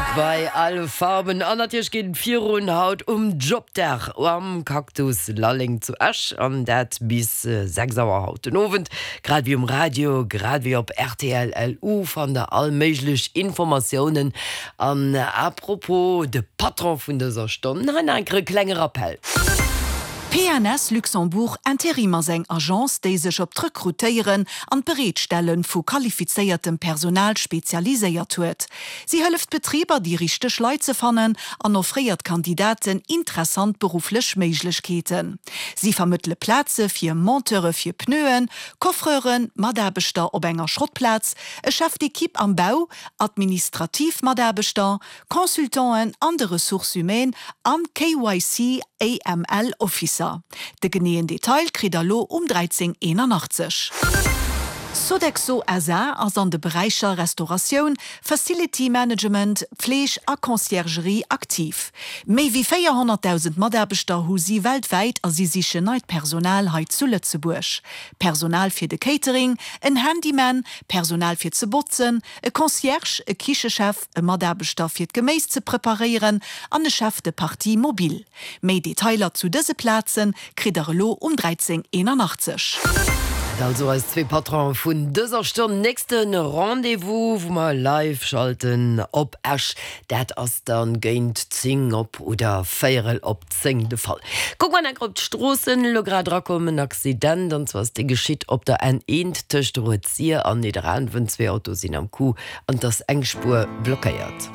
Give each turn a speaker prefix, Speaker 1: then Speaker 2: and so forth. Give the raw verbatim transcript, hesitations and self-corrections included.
Speaker 1: et bei Alle Farben. An natierlech geet et virun haut um Jobdag am Cactus Lalleng zu Esch an dat bis sechs Auer haut den Owend. Grad wéi um Radio, grad wéi op rtl L U fannt der all méiglech Informatiounen. An à propos, de Patron vun dëser Stonn, hei nach eng Kéier e klenge Rappell.
Speaker 2: P N S Luxembourg Interim ass eng Agence, déi sech op d'Rekrutéieren an d'Bereetstelle vu qualifizéiertem Personal spezialiséiert huet. Si hëlleft Betriber, déi richteg Leit ze fannen an offréiert Kandidaten interessant berufflech Méiglechkeeten. Si vermëttele Plaze fir Monteure fir Pneuen, Coffreuren, Mataarbechter op enger Schrottplaz, e Chef d'équipe am Bau, administrativ Mataarbechter, Consultanten an de Ressources humaines an K Y C A M L Officer. De geneeën Detail kritt der lo um dräizéng eenanachtzeg. Sodexo S A ass an de Beräicher Restauratioun, Facility Management, Fleeg a Conciergerie aktiv. Méi wéi véierhonnertdausend Mataarbechter hu si weltwäit a si sichen neit Personal hei zu Lëtzebuerg. Personal fir de Catering, en Handyman, Personal fir ze botzen, e Concierge, e Kichechef, e Mataarbechter fir d'Geméis ze preparéieren an e Chef de partie mobile. Méi Detailer zu dëse Plaze kritt der elo um dräizéng eenanachtzeg.
Speaker 1: Dat also eis zwee Patronen vun dëser Stonn. Nächste Rendez-vous, wou mer live schalten op Esch, dat ass dann géint zéng op oder véierel op zéng de Fall. Kucke mer nach op d'Stroossen, elo grad erakomm en Accident, an zwar ass dee geschitt op der N eent tëscht Rued-Sir an Nidderaanwen. Zwee Autoe sinn am Coup an et ass eng Spuer blockéiert.